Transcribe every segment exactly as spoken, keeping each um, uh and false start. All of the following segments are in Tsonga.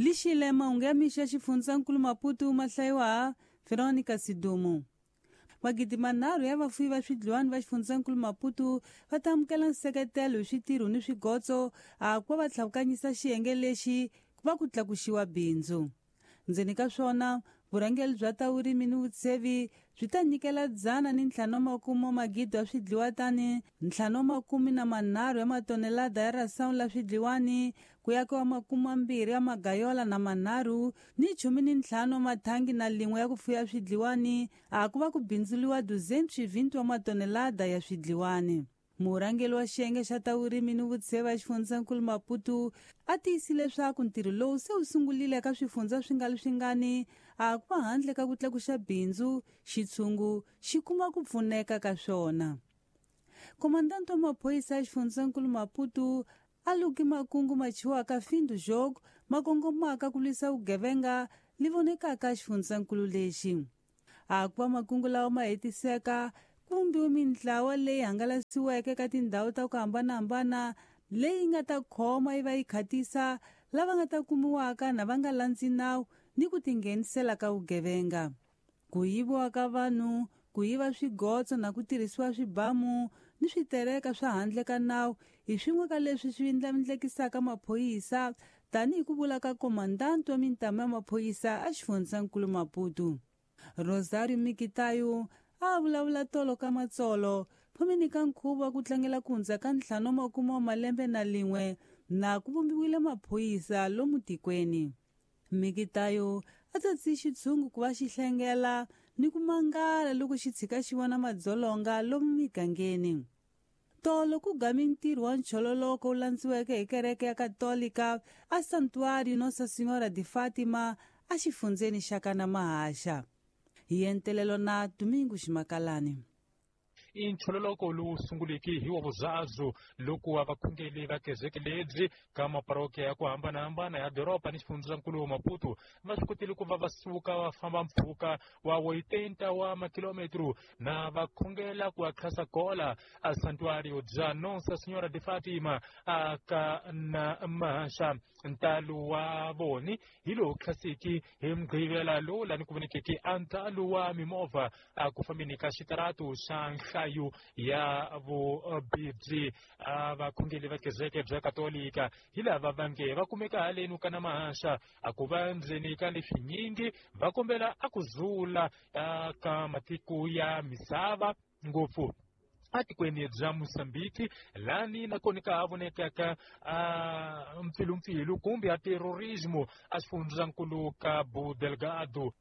Lixile mahungu ya mixo ya xifundzankulu Maputo ma hlayiwa Veronica Sidumo. Magidi manharhu ya vafuwi va swidliwani va xifundzankulu Maputo va ta amukela nseketelo hi switirho ni swigotso a ku va va tlhavukanyisa xiyenge lexi ku va ku tlakuxiwa bindzu. Ndzeni ka swona, vurhangeri bya ta vurimi ni vutshevi byi ta nyikela dzana ni ntlhanu wa makume wa magidi ya swidliwa tani ntlhanu wa makume na manharhu ya matonelada ya rasawu la swidliwani ku yakiwa makume mambirhi ya magayola na manharhu ni chumi ni ntlhanu wa mathangi na lin'we ya ku fuya swidliwani a ku va ku bindzuliwa duzentos e vinte wa matonelada ya swidliwani. Murhangeri wa xiyenge xa ta vurimi ni vutshevi a xifundzankulu Maputo a tiyisile leswaku ntirho lowu se wu sungurile eka swifundza swi nga ri swingani a ku va handle ka ku tlakuxa bindzu xitshungu xi kuma ku pfuneka ka swona. Komandanto wa maphorisa ya xifundzankulu Maputo a luki makungu ma chiwaka Findo Jogo ma kongomaka ku lwisa vugevenga li vonekaka xifundzankulu lexi. A ku va makungu lawa ma hetiseka ku vumbiwe mintlawa leyi hangalasiweke ka tindhawu ta ku hambanahambana leyi nga ta khoma yi va yi khatisa lava nga ta kumiwaka na va nga landzi nawu ni ku tinghenisela ka vugevenga. Ku yiviwa ka vanhu, ku yiva swigotso na ku tirhisiwa swibamu ni switereka swa handle ka nawu hi swin'we ka leswi swi ndlandlamukisaka maphorisa tanihi ku vula ka komandanti wa mintamu ya maphorisa a xifundzankulu Maputo. Rosario Mikitayo a vulavula tolo ka matsolo phomeni ka nkhuvo wa ku tlangela ku hundza ka ntlhanu wa makume wa malembe na lin'we na ku vumbiwile maphorisa lomu tikweni. Mikitayo a tsatsi xitshungu ku va xi hlengela ni ku mangala loko xi tshika xi vona madzolonga lomu migangeni. Tolo ku gami ntirho wa nchololoko wu landziweke hi kereke ya Katolika a Santuário Nossa Senhora de Fátima a xifundzeni xa Kanamahasha. Hi entelelo na Domingo Ximakalani. I nchololoko lowu sunguleke hi wa vuzazu loko wa vakhongeli va kereke lebyi ka maparokiya ya ku hambanahambana ya doroba ni xifundzankulu wa Maputo va swi kotile ku va va suka va famba mpfhuka wa oitenta wa makilometro na va khongela ku akhasa kola a Santuário bya Nossa Senhora de Fátima a ka na Mahasha. Ntalo wa voni hi lowu khasiki hi mugqivela lowu lani ku vonekeke a ntalo wa mimovha a ku fambeni ka xitaratu xa nhlayo ya vubibyi a vakhongeli va kereke bya Katolika hi lava va nge va kumeka haleni ka na Mahasha a ku va ndzeni ka leswinyingi va kombela a ku zula ka matiko ya misava ngopfu atikweni bya Mozambique lani nakona ka ha vonekaka a mpfilumpfilu kumbe a terrorismo a xifundzankulu Cabo Delgado.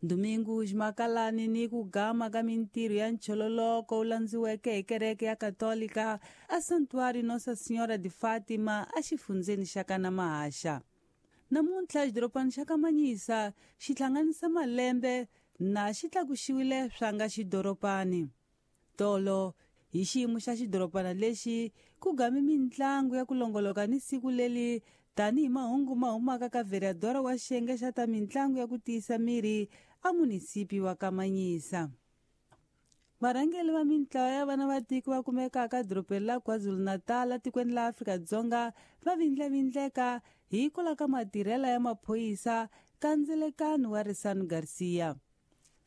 Domingo Ximakalani ni ku gama ka mintirho ya nchololoko wu landziweke hi kereke ya Katolika a Santuário Nossa Senhora de Fátima a xifundzeni xa Kanamahasha. Namuntlha xidorobana xa Kamanyisa xi hlanganisa malembe na xi tlakuxiwile swa nga xidorobani. Tolo hi xiyimo xa xidorobana lexi ku game mintlangu ya ku longoloka ni siku leli tanihi mahungu ma humaka ka vereadora wa xiyenge xa ta mintlangu ya ku tiyisa miri a munisipi wa Kamanyisa. Varhangeri va mintlawa ya vana va tiko va kumekaka edorobeni la KwaZulu-Natal tikweni la Afrika-Dzonga va vindlavindleka hikwalaho ka matirhelo ya maphorisa ka ndzelekano wa Risano Garcia.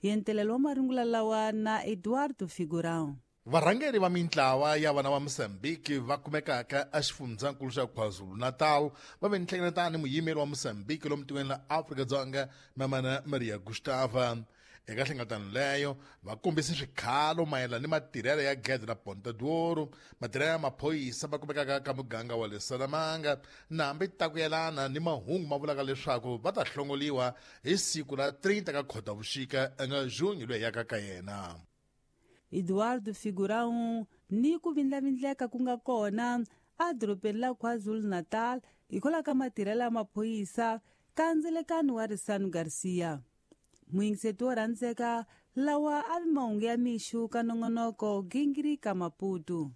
Yentelelo wa marungula lawa na Eduardo Figurão. Varhangeri va mintlawa ya vana va Mozambique va kumekaka exifundzankulu xa KwaZulu-Natal va ve nhlengeletano ni muyimeri wa Mozambique lomu tikweni la Afrika-Dzonga Mamana Maria Gustava. Eka nhlengeletano leyo va kombise swikhalo mayelana ni matirhelo ya gede la Ponta d'Ouro, matirhelo ya maphorisa va kumekaka ka muganga wa le Salamanga na hambi ta ku yelana ni mahungu ma vulaka leswaku va ta hlongoliwa hi siku la trinta ka Khotavuxika nga Junho loyi yaka ka yena. Eduardo Figurão ni ku vindlavindleka ku nga kona a dorobeni la KwaZulu-Natal hikwalaho ka matirhelo ya maphorisa ka ndzelekano wa Risano Garcia. Muyingiseti wo rhandzeka lawa a vi mahungu ya mixo ka nongonoko Gingiri ka Maputo.